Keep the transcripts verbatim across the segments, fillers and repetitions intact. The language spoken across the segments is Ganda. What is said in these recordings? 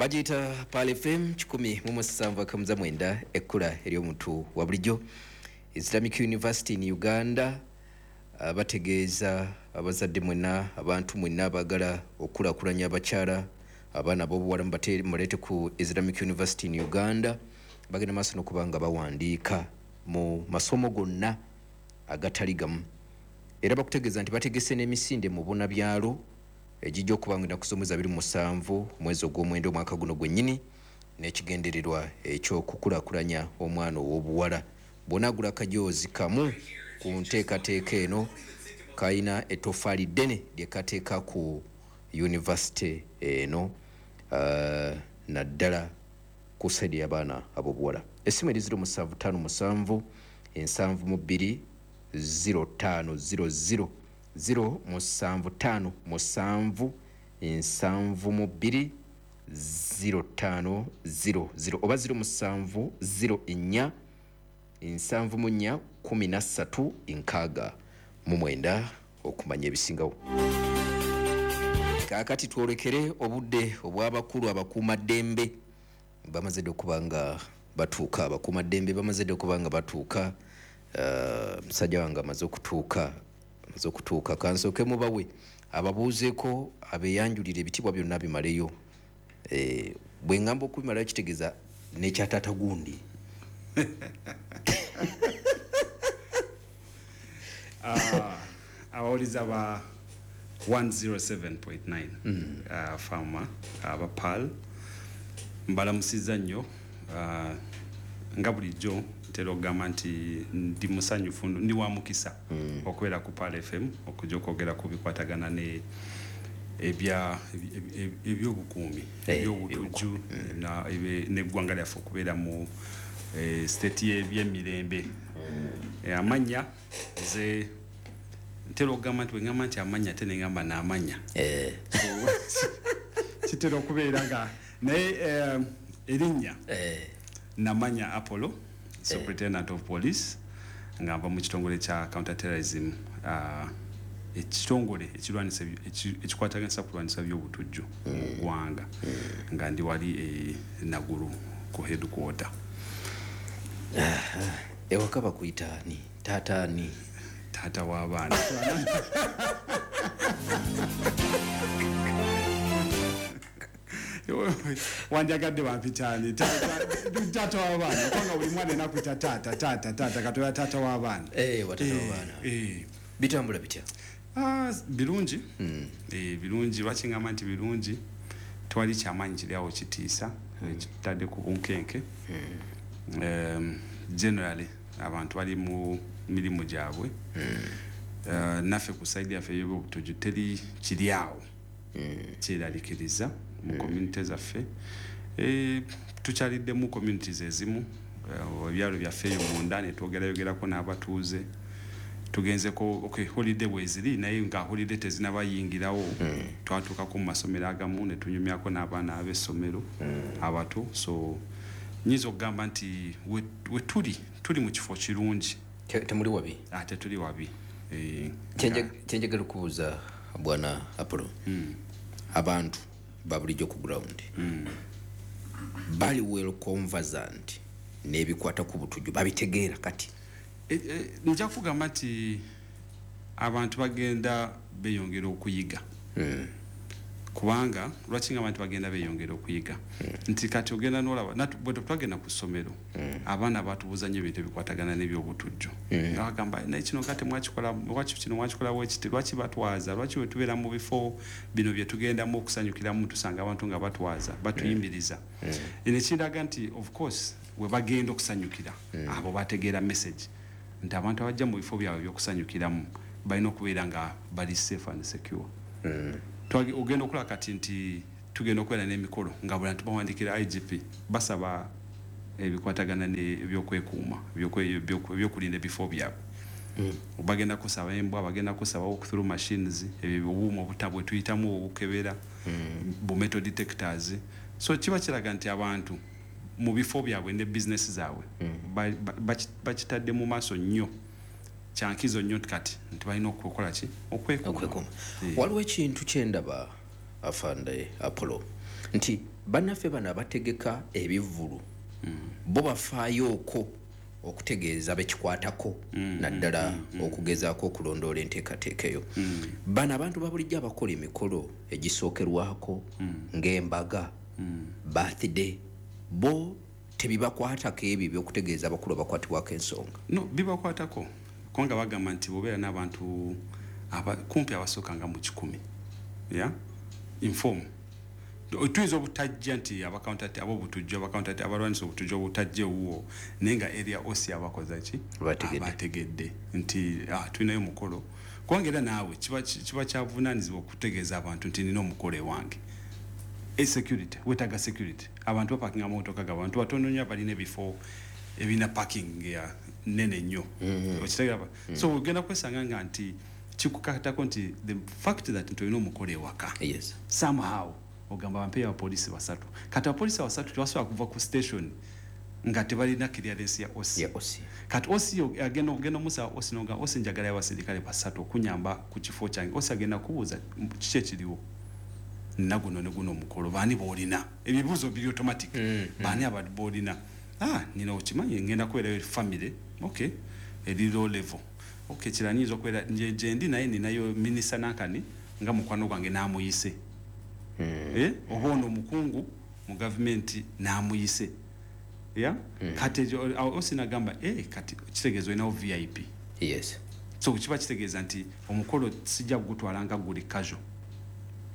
Bagiyita Pearl F M kikumi mu musanvu akamuza mwenda, ekkula ery'omuntu wa bulijjo. Islamic University in Uganda ah, bategeeza abazadde mwenna, abantu mwenna abaagala okukulaakulanya abakyala, abaana ab'obuwala, mubate- muleete ku Islamic University in Uganda. Bagenda maaso n'okuba nga bawandiika mu masomo gonna agatali gamu. Era bakutegeeza nti bategese n'emisinde mu bunabyalo egijja okuba nga ennaku z'omwezi abiri mu musanvu omwezi ogw'omwenda omwaka guno gwennyini, n'ekigendererwa ekyokukulaakulanya omwana ow'obuwala. Bw'onaagula akajoozi kamu ku nteekateeka eno, kalina ettofaali ddene lye kateeka ku yunivasite eno, uh, naddala ku side y'abaana ab'obuwala. Essimu eri zero musanvu ttaano musanvu ensanvu mu bbiri zero ttaano zero zero, zero musanvu ttaano musanvu ensanvu mu bbiri zero ttaano zero zero oba zero musanvu zero nnya ensanvu mu nnya kumi na ssatu nkaaga mu mwenda okumanya ebisingawo. Kaakati twolekere obudde obw'abakulu abakuumaddembe. Bamaze dde okuba nga batuuka, abakuumaddembe bamaze dde okuba nga batuuka. Eh, musajja wange amaze okutuuka, amaze okutuuka. Kansooke mubawe ababuuzeeko, abeeyanjulira, ebitiibwa byonna bimaleyo. Eh, bwe ŋŋamba okubimalayo, kitegeeza nekyataata gundi. Ah, abawuliza ba one oh seven point nine uh, fama aba Pearl, mbalamusizza nnyo. uh, nga bulijjo ntera okugamba nti ndi musanyufu, ndi wa mukisa okubeera ku Pearl F M okujja okwogera ku bikwatagana ne ebya ebi- ebi- ebyobukuumi, Eh, ebyobutujju na- ebe- n'eggwanga lyaffe okubeera mu eh, state y'ebyemirembe. Eh, amannya nze ntera okugamba nti bwengamba nti amannya, ate nengamba n'amannya, Eh, kitera okubeera nga naye eh, erinnya eh, Namanya Apollo, Superintendent of Police, nga nva mu kitongole kya counter terrorism, uh, ekitongole ekirwanisa ebyo- eki- ekikwataganisa kulwanisa byobutujju mu ggwanga, nga ndi wali e Naguru ku headquarter. Ewaka bakuyita ani? Taata ani? Taata w'abaana. Wandyagadde bampitaani? Taata w'abaana, kubanga buli mwana enakwita taata, taata, taata. Katoya taata w'abaana. Eh, wa taata w'abaana. Eh. Bitambula bitya? Ah, birungi. Eh, birungi. Lwaki ngamba nti birungi? Tewali kyamaanyi kiri awo kitiisa ekitadde ku bunkenke. Em, generally abantu bali mu mirimu gyabwe. Eh, naffe ku side yaffe ey'obutuju teri kiri awo kyeralikiriza mu community zaffe. Eh, tukyaliddemu communities ezimu, eh, ebyalo byaffe eyo munda, ne twogerayogerako n'abatuuze. Tugenzeko, okay, holiday bweziri, naye nga holiday tezinabayingirawo, twatuukako mu masomero agamu ne tunyumyako n'abaana ab'essomero abato. So nyinza okugamba nti we we tuli, tuli mu kifo kirungi. Te- temuli wabi? Ate tuli wabi. Eh, Kyenje- nga- kyenjagala okubuuza, bwana Apollo, abantu babulijjo ku ground bali well conversant n'ebikwata ku butujju? Babitegeera kati? E, e, nja kugamba nti abantu bagenda beyongera okuyiga. Kubanga lwaki nga abantu bagenda beyongera okuyiga? Nti kati ogenda nolaba natu- bwe twagenda ku ssomero, abaana batubuuza nnyo ebintu ebikwatagana n'ebyobutujju, nga bagamba, "Naye kino nga temwakikola, lwaki kino mwakikola bwekiti? Lwaki batwaza? Lwaki bwe tubeera mu bifo bino bye tugendamu okusanyukiramu tusanga abantu nga batwaza, batuyimiriza?" Eno ekiraga nti of course we bagenda okusanyukira, abo bategeera message nti abantu abajja mu bifo byabwe ebyokusanyukiramu balina okubeera nga bali safe and secure. Twage- ogenda okulaba kati nti tugenda okubeera n'emikolo nga buli bantu bawandikira I G P basaba ebikwatagana n'ebyokwekuuma, ebyokwe- ebyokwe- ebyokulinda ebifo byabwe. Bagenda kusaba embwa, bagenda kusaba walk through machines, ebyo obuuma obuta bwe tuyitamu obukebera, bu metal detectors. So kiba kiraga nti abantu mu bifo byabwe ne bizinesi zaabwe ba- ba- baki- bakitadde mu maaso nnyo, kyankizo nnyo kati nti balina okukola ki? Okwekuuma. Okwekuuma. Eh. Waliwo ekintu kyendaba Afande Apollo, nti bannaffe bano abategeka ebivvulu mm. bo bafaayooko okutegeeza bekikwatako mm, naddala mm, mm, okugezaako okulondoola enteekateeka eyo. Mm. Bano abantu babulijjo abakola emikolo egisookerwako mm. ng'embaga, mm. birthday, bo tebibakwatako ebyo ebyokutegeeza abakulu abakwatibwako ensonga? No, bibakwatako kubanga bagamba nti bw'obeera n'abantu kumpi abasooka nga mu kikumi, yeah? Inform. Tuyinza obutajja nti abakauntati ab'obutujju, abakauntati abalwanyisa obutujju obutajja ewuwo, naye nga area O C abakoza ki, abategedde nti ah, tulinayo omukolo. Kubanga era naawe kiba kyavunaanyizibwa okutegeeza abantu nti nina omukolo ewange. Security, wetaaga security, abantu bapakinga amamotoka gaabwe, abantu batono nnyo abalina ebifo ebirina parking ya nene nnyo, mm-hmm. okitegeera? mm. So ogenda kwesanga nga nti kikukatako nti the fact that nti olina omukolo ewaka, yes. somehow ogamba bampeyo abapoliisi basatu. Kati abapoliisi abasatu tebasobola kuva ku station nga tebalina clearance ya O C. Kati O C agenda ogenda omusaba O C noga O C, njagala abaserikale basatu okunyamba ku kifo kyange. O C agenda kubuuza kiki ekiriwo, nina guno ne guno omukolo, baani boolina? Ebibuuzo biri automatic. mm, mm. Baani aba boolina? Ah, nina okimanyi ngenda kubeerayo family, okay, eri low level, okay, kirala nyinza okubeera gyendi naye ninayo minisita nankani nga mukwano gwange n'amuyise, mm. eh? Oba ono omukungu mu gavumenti n'amuyise ya mm. Kati O C nagamba, eh, kati kitegeeza olinawo V I P. Yes. So kiba kitegeeza nti omukolo sijja kugutwala nga guli casual,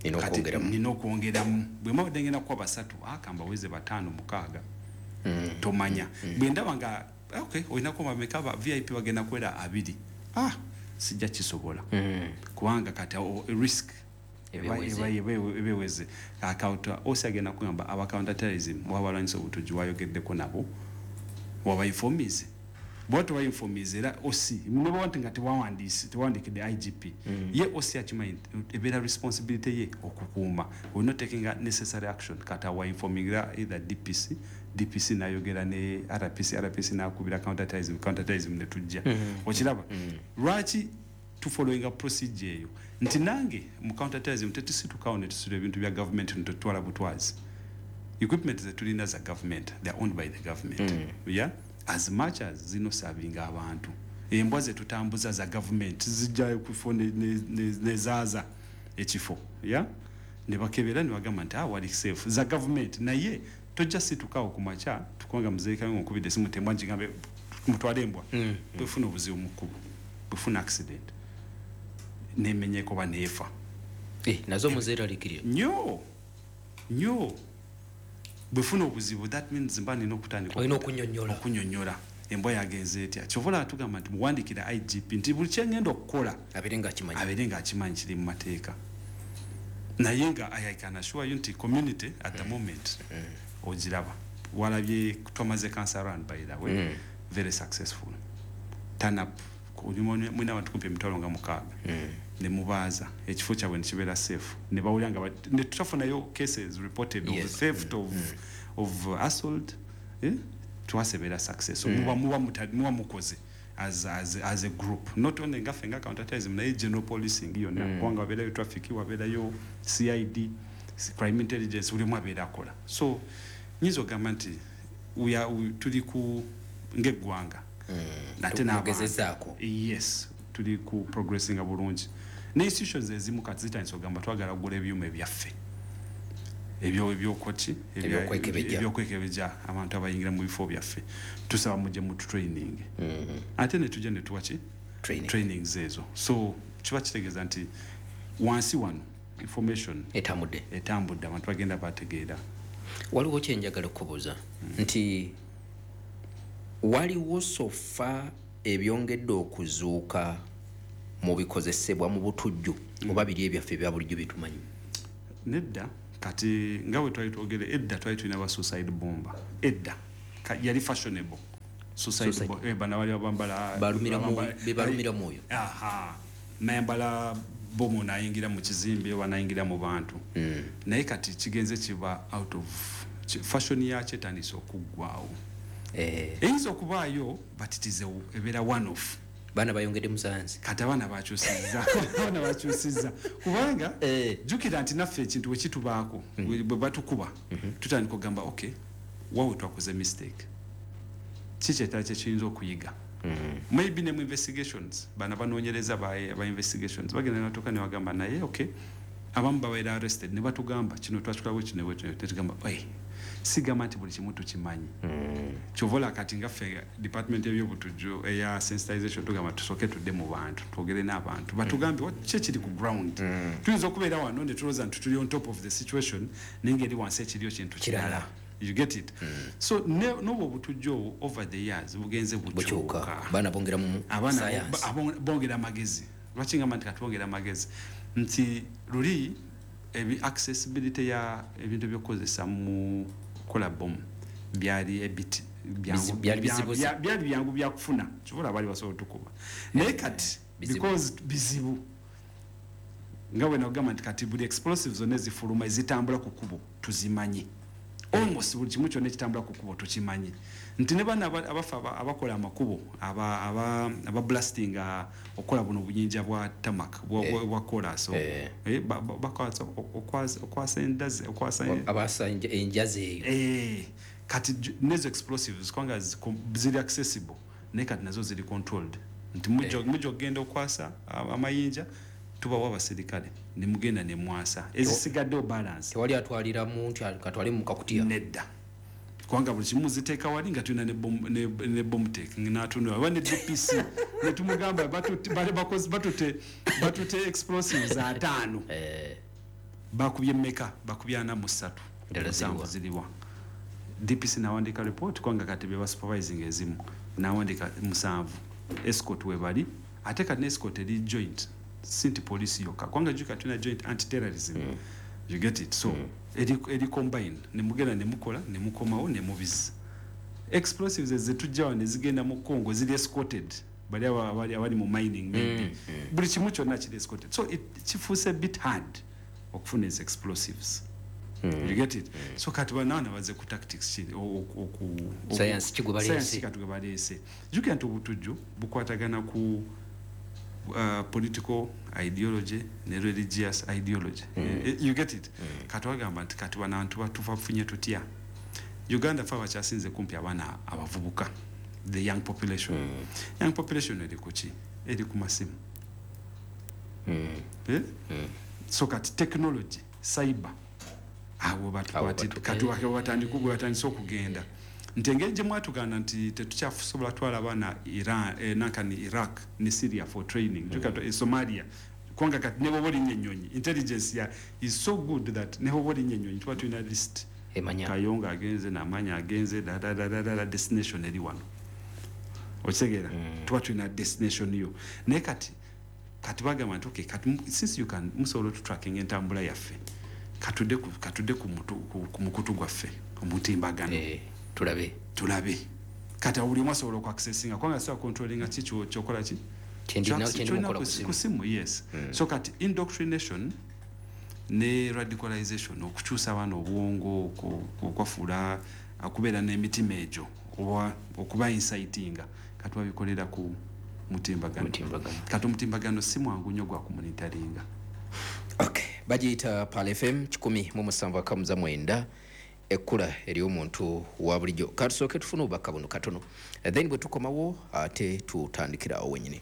nina okwongeramu. Bwe mbadde ngenda kuwa basatu, akamba weze bataano, mukaaga, mm. tomanya. mm. Bwe ndaba nga okay, olinako bameka ba V I P bagenda kuwera abiri, ah, sijja kisobola, mm. kubanga kati risk ebeweze. O C agenda kugamba aba counter terrorism wabalwanyisa obutujju wayogeddeko nabo, wabainformize? Bwaba tebainformize, era O C neba nti nga tewawandiise, tewawandikidde I G P, mm. ye O C akimanyi ebeera responsibility ye okukuuma, olina taking necessary action. Kati awainformingira either D P C, D P C nayogera ne R P C, R P C nakubira counterterrorism, counterterrorism netujja. mm. Okiraba? mm. Lwaki tufollowinga procedure eyo? Nti nange mu counterterrorism tetusitukawo netusula ebintu bya government netutwala butwazi. Equipment zetulina za government, they are owned by the government. mm. Yeah, as much as zino savinga abantu, embwa zetutambuza za government, zijjayo kufo nezaaza ekifo ya ne bakebera ne bagamba nti ah, wali safe, za government. Naye tojja situkawo ku makya tukubanga muzeeyi kange nkubidde esimu tembwa nkigambe mutwale embwa. mm. Bwefuna obuzibu mu kkubo, bwefuna accident nemenyeko ba neefa, eh, nazo muzeeralikirira? Nnyo nnyo. Bwefuna obuzibu, that means mba nina okutandika olina okunyonyola. Okunyonyola embwa yagenze etya. Kyova olaba tugamba nti muwandikira I G P nti buli kyengenda okukola abeere ngaakimanyi, abeere ngaakimanyi kiri mu mateeka. Naye nga I can assure you nti community at the moment mm. ogiraba walabye twamaze cancer run, by the way, mm. very successful turn up. Mwina abantu kumpi emitwalo nga mukaaga mm. ne mubaaza ekifo kyabwe nekibeera safe, ne bawulira nga ne tutafunayo cases reported yes. of theft, mm. of, mm. of assault, eh? Twasebeera success. mm. muba muba muba mukoze as, as, as a group, not only ngaffe nga counterterrorism, naye general policing yonna, mm. kubanga wabeerayo traffic, wabeerayo C I D, crime intelligence, buli omu abeera akola. So nyinza okugamba nti tuli ku ng'eggwanga mm. ate n'abantu, yes, tuli ku progressinga bulungi. Ne institutions ezimu kati zitandise okugamba twagala kugula ebyuma ebyaffe ebyo ebyokoki ebyokwekebejja abantu abayingira mu bifo byaffe, tusaba mujje mu training. mm-hmm. Ate netujja netuwa ki trainings ezo. So kiba kitegeeza nti wansi wano information etambudde, etambudde, abantu bagenda bategeera. Waliwo kyenjagala okubuuza mm. nti waliwo so far ebyongedde okuzuuka mu bikozesebwa mu butujju mm. oba biri ebyaffe ebya bulijjo byetumanyi? Nedda. Kati nga bwe twali twogere edda, twali tulina ba suicide bomber edda, yali fashionable suicide. eh, bana bali bambala bebalumira mwoyo. Nayambala bomu nayingira mu kizimbe oba nayingira mu bantu. mm. Naye kati kigenze kiba out of fashion, yakyo etandise okuggwawo. eh. Eyinza okubaayo, but it is ebeera one off. Baana bayongedde mu sayansi. Kati abaana bakyusizza, abaana bakyusizza kubanga Eh. jjukira nti naffe ekintu bwe kitubaako, bwe batukuba, tutandika okugamba, okay, wawe twakoze mistake, kiki ekirala kye kiyinza okuyiga? Maybe ne mu investigations, bano abanoonyereza ba, ba investigations bagenda ne batuuka ne bagamba, naye okay, abamu babeera arrested ne batugamba kino twakikola bwe kino bwe kino, tetugamba oi, sigamba nti buli kimu tukimanyi. Kyova olaba kati nga ffe department y'ebyobutujju eya sensitization tugamba tusooke tudde mu bantu, twogere n'abantu batugambe what ki ekiri ku ground. Tuyinza okubeera wano ne tulowooza nti tuli on top of the situation, naye ng'eri wansi ekiriyo kintu kirala. Kirala. You get it? So ne- n'obwo obutujju obwo over the years bugenze bukyuka. Bukyuka. Baana bongera mu abaana science. bo- abo- bongera amagezi. Lwaki ngamba nti kati bongera amagezi? Nti luli ebi accessibility ya ebintu ebyokukozesa mu kukola bomu byali a bit byangu- Bizi- byali bya- bizibu. bya- byali byangu byakufuna, kivula baali basobola otukuba, naye kati Bizibu. because bizibu, nga bwe nagamba nti kati buli explosive zonna ezifuluma ezitambula ku kkubo tuzimanyi, almost buli kimu kyonna ekitambula ku kkubo tukimanyi, nti ne bano aba- abafa aba- abakola amakubo, aba, aba, aba blasting okukola buno obuyinja bwa tarmac, bwa, bwa, bwa kolas. Eh. Eh, ba- ba- bakwasa okwasa okwasa endazi, okwasa abasa enja- enjazi eyo. Eh, kati ju- nezo explosives kubanga zi- ziri accessible, naye kati nazo ziri controlled, nti mujja mujja okugenda okwasa a- amayinja, tubawa abaserikale nemugenda nemwasa ezisigaddewo balance. Tewali atwaliramu nti katwale mu kakutiya. Nedda, kubanga buli kimu ziteeka wali nga tulina ne bomb- ne- ne bomb tech natunula oba ne D P C netumugamba batute- bale bakoze- batute batute explosives ataano, Eh, bakubye mmeka? Bakubye ana mu ssatu. Endala Musanvu ziriwa? Ziriwa? D P C nawandika report, kubanga kati bye basupervising ezimu, nawandika musanvu, escort webali, ate kati ne escort eri joint, si nti police yokka, kubanga juka tulina joint anti-terrorism mm. You get it? So mm. eri, eri combine, nemugenda nemukola nemukomawo nemubizi explosives ezetujjawa nezigenda mu Congo ziri escorted, bali aba- abali abali mu mining maybe, mm, mm. buli kimu kyonna kiri escorted, so it kifuuse bit hard okufuna ezi explosives mm. You get it mm. So kati banaana baze ku tactics ki o- o- oku oku- Science ki gwe baleese? Science kati gwe baleese. Jjukira nti obutujju bukwatagana ku uh, political ideology ne religious ideology mm. You get it mm. Kati wagamba nti kati banantu batufafunye tutya? Uganda fe abakyasinze kumpi abaana abavubuka, the young population mm. Young population eri kuki? Eri ku masimu mm. Eh? mm. So kati technology, cyber, awo batukwati. Awo kati wake batandika gwe batandise okugenda nti engeri gye mwatuganda nti tetukyasobola twala abaana Iran, eh, nankani Iraq ne Syria for training mm. Juka, eh, Somalia, kubanga kati ne bwoba olinnya ennyonyi, intelligence ya is so good that ne bwoba olinnya ennyonyi tuba tulina list. Emanya. Kayonga agenze namanya agenze dadadadada, destination eri wano, okitegeera mm. Tuba tulina destination yo, naye kati kati bagamba nti okay, kati mu- since you can musobola otutracking entambula yaffe, katudde ku, katudde ku, mutu, ku, ku mukutu gwaffe omutimbagano. Eh, tulabe. Tulabe kati awo buli omu asobola okuaccessinga, kubanga sobola controllinga ki kyo- kyokola ki. Kyendi- Kyo- kyendi kyolina mukola ku ku simu. Ku simu, yes mm. So kati indoctrination ne radicalization, okukyusa abaana obwongo, oku- okwafuula okubeera n'emitima egyo oba okuba incitinga, kati babikolera ku mutimbagano. Mutimbagano. Kati omutimbagano si mwangu nnyo gwa kumonitoringa. Okay, bagiyita Pal F M kikumi mu musanvu akamuza mwenda, ekkula ery'omuntu wa bulijjo. Katusooke tufune obubaka buno katono, then bwe tukomawo ate tutandikira awo wenyini.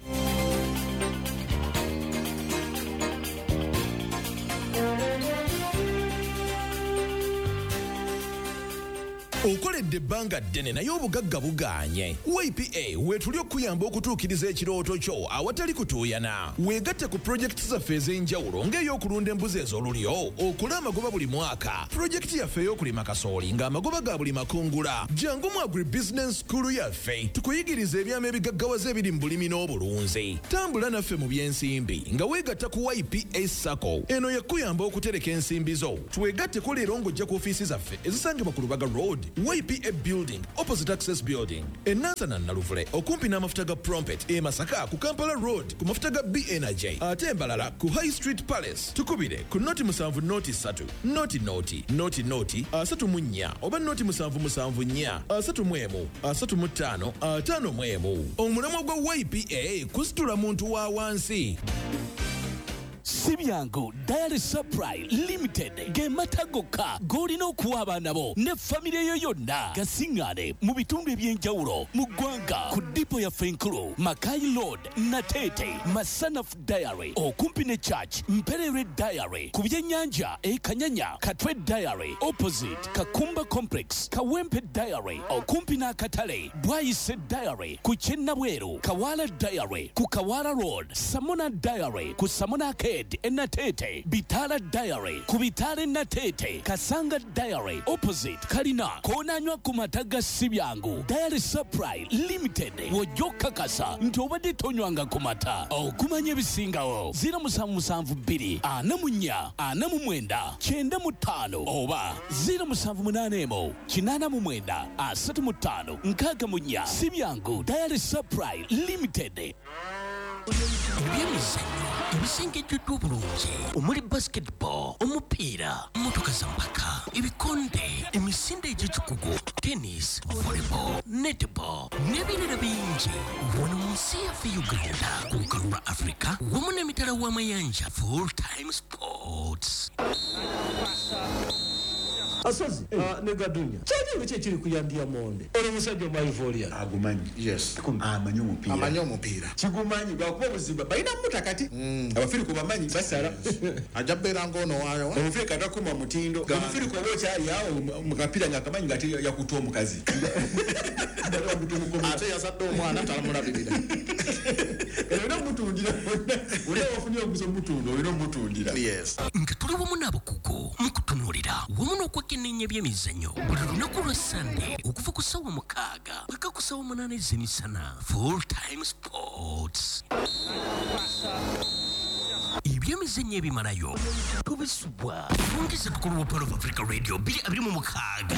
Okoledde ebbanga ddene naye obugagga bugaanye. Y P A weetuli okuyamba okutuukiriza ekirooto kyo awatali kutuuyana. Weegatte ku pulojekiti zaffe ez'enjawulo ng'ey'okulunda embuzi ez'olulyo okole amagoba buli mwaka, pulojekiti yaffe ey'okulima kasooli ng'amagoba ga buli makungula. Jangu mu agribusiness school yaffe tukuyigiriza ebyama ebigaggawaza ebiri mu bulimi n'obulunzi. Tambula naffe mu by'ensimbi nga weegatta ku Y P A SACCO. Eno yakuyamba okutereka ensimbi zo. Twegatteko leero ng'ojja ku ofiisi zaffe ezisangibwa ku Lubaga Road. Y P A Building opposite Access Building, e Nansana Naluvule okumpi n'amafuta ga Prompet, e Masaka ku Kampala Road ku mafuta ga B Energy, ate Mbalala ku High Street Palace. Tukubire ku noti musanvu noti ssatu noti noti noti noti asatu mu nnya oba noti musanvu musanvu nnya asatu mu emu asatu mu ttaano ataano mu emu. Omulamwa gwa Y P A kusitula muntu wa wansi. Sibyangu Dairy Supply Limited ge mata gokka g'olina okuwa abaana bo ne famire yo yonna gasiŋŋaane mu bitundu eby'enjawulo mu ggwanga ku dipo yaffe enkulu Makai Road, Natete, Masanaf Dairy okumpi ne Church, Mperere Dairy ku byennyanja e Kanyanya, Katwe Dairy opposite Kakumba Complex, Kawempe Dairy okumpi n'akatale, Bwayise Dairy ku Kyennabweru, Kawala Dairy ku Kawala Road, Samona Dairy ku Samona Arcade Natete, Bitala Dairy ku Bitale Natete, Kasanga Dairy opposite Kalina, konanywa ku mata ga Sibyangu Dairy Supply Limited wojja okukakasa nti obadde tonywanga ku mata. Okumanya ebisingawo ziro musanvu musanvu bbiri ana mu nnya ana mu mwenda kyenda mu ttaano oba ziro musanvu munaana emu kinaana mu mwenda asatu mu ttaano nkaaga mu nnya. Sibyangu Dairy Supply Limited. Ebyemizannyo ebisengejjeddwa obulungi omuli basketball, omupiira, mmotoka za mpaka, ebikonde, emisinde egy'ekikugu, tennis, volleyball, netball n'ebirala bingi. Wano mu nsi yaffe Uganda, ku lukalu lwa Africa wamu n'emitala w'amayanja. Full time sports. Asozi uh, ne Gadunya kyenjawulo ki ekiri ku ya Diamond oli musajja omwaivoria agumanyi. Yes, amanyi omupiira, amanyi omupiira kigumanyi lwakuba obuzibu balina muta kati abafirika bamanyi basala ajja bbeera ng'ono waayo omufirika takuma mutindo omufirika oba okyali awo mu kapiira nga akamanyi nga yakuta omukazi ate yazadde omwana talamulabirira. Olina omutundira olina wafunye omuguzi omutunda olina omutundira. Yes, nga tuli wamu n'abakugu mu kutunuulira wamu n'okwekenneenya ebyemizannyo buli lunaku lwa Sande okuva ku ssaawa mukaaga paka ku ssaawa munaana ez'emisana. Full time sports. Ebyemizannyo ebimalayo tubisubwa fungisa tukulu wa Pearl of Africa Radio bbiri abiri mu mukaaga.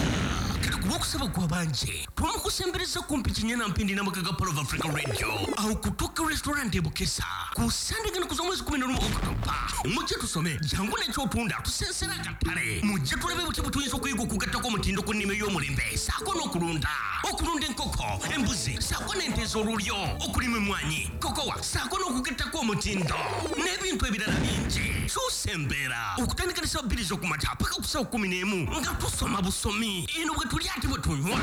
Kati ku lwokusaba gw'abanje twamukusembereza kumpi kinyana mpindi n'amaka ga Pearl of Africa Radio awo kutuuka restaurant e Bukesa ku Sande gano kuza omwezi kumi n'olumu Okutoba. Mujje tusome jangu n'ekyotunda tusensera akatale mujje tulabe butya bwe tuyinza okuyiga okugattako omutindo ku nnima ey'omulembe ssaako n'okulunda okulunda enkoko, embuzi ssaako n'ente ez'olulyo, okulima emmwanyi, kokowa ssaako n'okugattako omutindo n'ebintu ebirala bingi. Kyusa embeera okutandika ne ssaawa bbiri ez'okumakya paka ku ssaawa kkumi n'emu nga tusoma busomi eno bwe tulya ate bwe tunywa.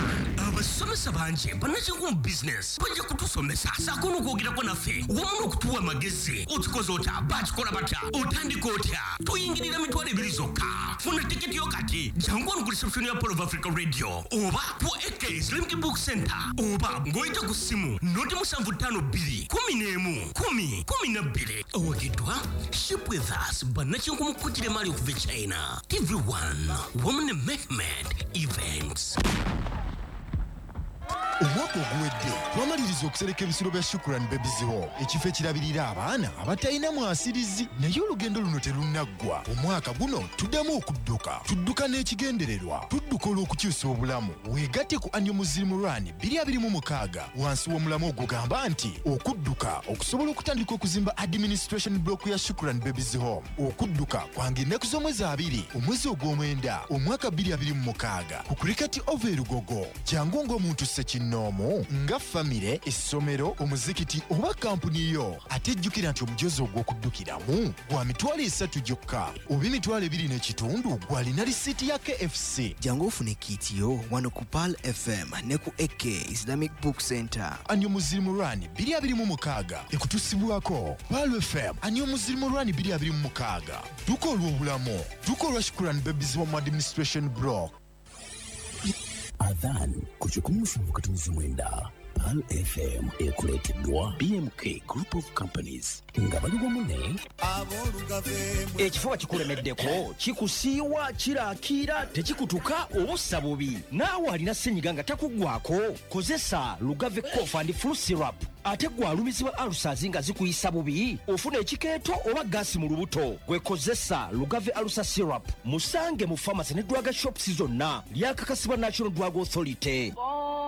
Abasomesa bangi bannakinku mu bizinesi bajja kutusomesa ssaako n'okwogerako naffe wamu n'okutuwa amagezi. Okikoze otya, bakikola batya, otandika otya? Tuyingirira mitwalo ebiri zokka. Funa tiketi yo kati jangu wano ku reception ya Pearl of Africa Radio oba ku A K Islamic Book Center oba ng'oyita ku ssimu noti musanvu ttaano bbiri kumi n'emu kumi kumi na bbiri. Owagiddwa Ship with Us bannakinku mu kukira emaali okuva e China, T V one wamu ne Mehmed Events. Omwaka oguwedde twamaliriza okusereka ebisulo bya Shukran Babies Home, ekifo ekirabirira abaana abatalina mwasirizi. Naye olugendo luno terunnaggwa. Omwaka guno tuddamu okudduka, tudduka n'ekigendererwa, tudduka olw'okukyusa obulamu. Weegatte ku Annual Muslim Run bbiri abiri mu mukaaga wansi w'omulamu ogugamba nti okudduka okusobola okutandika okuzimba administration block ya Shukran Babies Home. Okudduka kwange ennaku z'omwezi abiri omwezi ogw'omwenda omwaka bbiri abiri mu mukaaga ku Cricket Oval e Lugogo. Jangu ng'omuntu ssekinnoomu nga famire, essomero, omuzikiti oba kampuni yo. Ate jjukira nti omujozi ogw'okuddukiramu gwa mitwalo esatu gyokka oba emitwalo ebiri n'ekitundu gw'alina risiiti ya K F C. Jangu ofune kiiti yo wano ku Pearl F M ne ku A K Islamic Book Center. Annual Muslim Run bbiri abiri mu mukaaga ekutusibwako Pearl F M. Annual Muslim Run bbiri abiri mu mukaaga dduka olw'obulamu, dduka olwa Shukran Babies Home Administration Block. Adhan ku kikumi musanvu katonzi mwenda. Pearl F M ekuleeteddwa B M K Group of Companies nga bali wamu ne Ekifuba kikulemeddeko, kikusiiwa, kirakiira, tekikutuka obussa bubi. Naawe alina ssenyiga nga takuggwako, kozesa Lugave Cough and Flu Syrup. Ate gwe alumizibwa ulcers nga zikuyisa bubi, ofuna ekikeeto oba gaasi mu lubuto, gwe kozesa Lugave Ulcer Syrup. Musange mu pharmacy ne drug shops zonna. Lyakakasibwa National Drug Authority.